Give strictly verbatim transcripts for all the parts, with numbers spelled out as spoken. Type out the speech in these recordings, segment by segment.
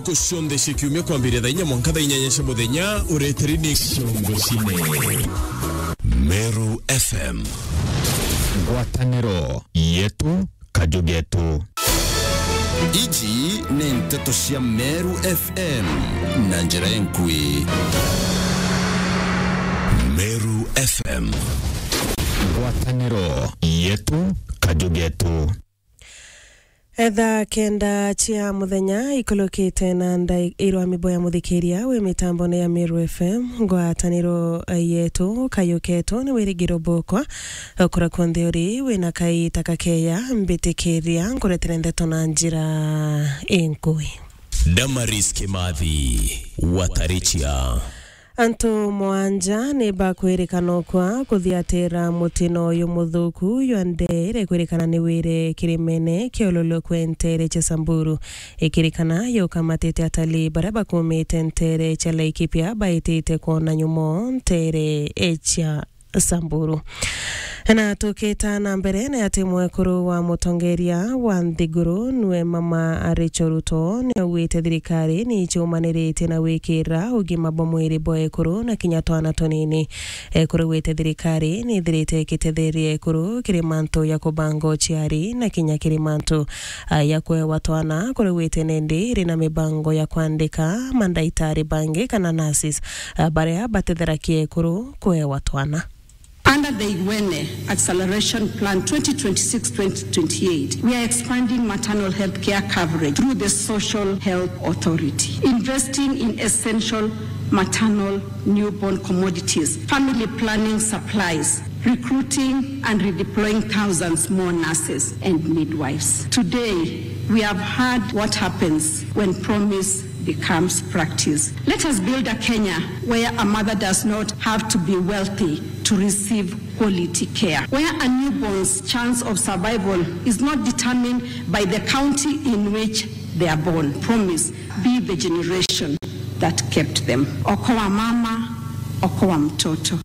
Ntuku cionthe cia kiumia kwambiria thaa inya mwanka thaa inyanya cia muthenya, ureteri ni Ciongo Cine. Meru F M. Ngwataniro yetu, kaju getu. Iji ni nteto cia Meru F M na njira enkui. Meru F M. Ngwataniro yetu, kaju getu. Thaa kenda cia muthenya ikulukite na ndai-, irwa mibo ya muthikiria wi mitambone ya Meru F M, ngwataniro yetu, kaju ketu ni wirigiro bukwa, okura kunthe uri wina kaita kakeya, mbitikiria nkuretere ndeto na njira inkui. Damaris Kimathi, Watarichia. Antu mwanja ni bakwirikana ukwa kuthiatira mutino uyu muthuku jwa ndeere kwirikana ni wire kirimene kia Ololokwe nteere cia Samburu. Ikirikana yukamatite atalii baria bakumite nteere cia Laikipia baitite kwona nyumo nteere cia Samburu. Na tukita na mbere, ni ati mwekuru wa mutongeria wa nthiguru nwe Mama Rachel Ruto ni augite thirikari ni icumaniritie na gwikira ugima bwa mwiri bwa ekuru na kinya twana tunini. Ekuru gwite thirikari ni ithirite ikitetheria ekuru kiri mantu ya kubanga uciari na kinya kiri mantu, a, ya kwewa twana, kuri gwite nindi iri na mibango ya kwandika mandaitari bangi kana nurses, a, baria batetheragia ekuru kwewa twana. Under the Igwene Acceleration Plan twenty twenty-six twenty twenty-eight, we are expanding maternal health care coverage through the Social Health Authority, investing in essential maternal newborn commodities, family planning supplies, recruiting and redeploying thousands more nurses and midwives. Today, we have heard what happens when promise becomes practice. Let us build a Kenya where a mother does not have to be wealthy to receive quality care, where a newborn's chance of survival is not determined by the county in which they are born. Promise, be the generation that kept them. Okoa mama, okoa mtoto.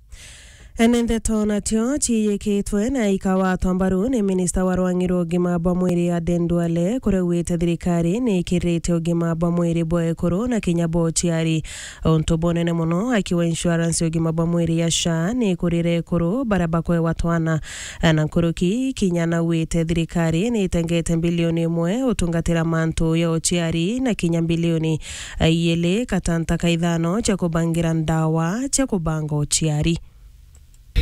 Ene ndeto natio ciiyikitwe na ikawatwa mbaru ni minista wa rwang'i rwa ugima bwa mwiri Aden Duale, kuria augite thirikari ni ikirite ugima bwa mwiri bwa ekuru na kinya bwa uciari. Untu bunene muno akiwa insurance ya ugima bwa mwiri ya SHA ni ikurire ekuru baria bakwewa twana. Na nkuruki kinya naugite thirikari ni itengete mbilioni imwe utungatira mantu ya uciari na kinya mbilioni iiri gatanta ka ithano cia kubangira ndawa cia kubanga uciari.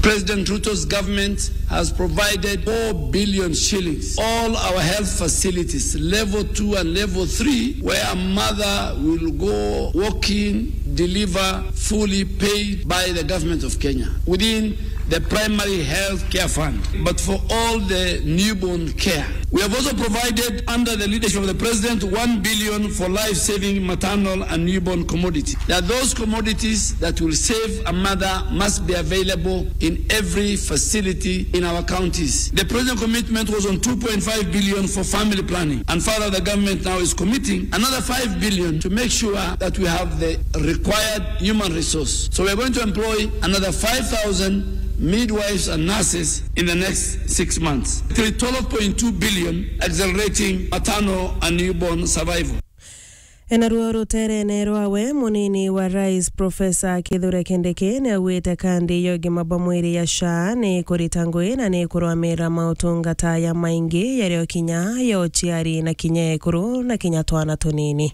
President Ruto's government has provided four billion shillings. All our health facilities, level two and level three, where a mother will go walk in, deliver, fully paid by the government of Kenya within the primary health care fund. But for all the newborn care, we have also provided, under the leadership of the president, one billion for life-saving maternal and newborn commodity. That those commodities that will save a mother must be available in every facility in our counties. The president's commitment was on two point five billion for family planning, and further, the government now is committing another five billion to make sure that we have the required human resource. So we are going to employ another five thousand midwives and nurses in the next six months. Till twelve point two billion accelerating maternal and newborn survival. Enaruo ruterene rwawe, munini wa rais Professor Kithure Kindiki ni augite kandi ya ugima bwa mwiri ya SHA ni kurita ngui na ni kurwamira mautungata ya maingi yario kinya ya uciari na kinya ekuru na kinya twana tunini.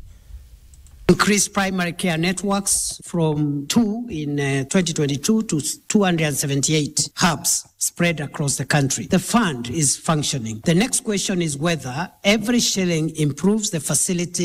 Increase primary care networks from two in, uh, twenty twenty-two to two hundred seventy-eight hubs spread across the country. The fund is functioning. The next question is whether every shilling improves the facility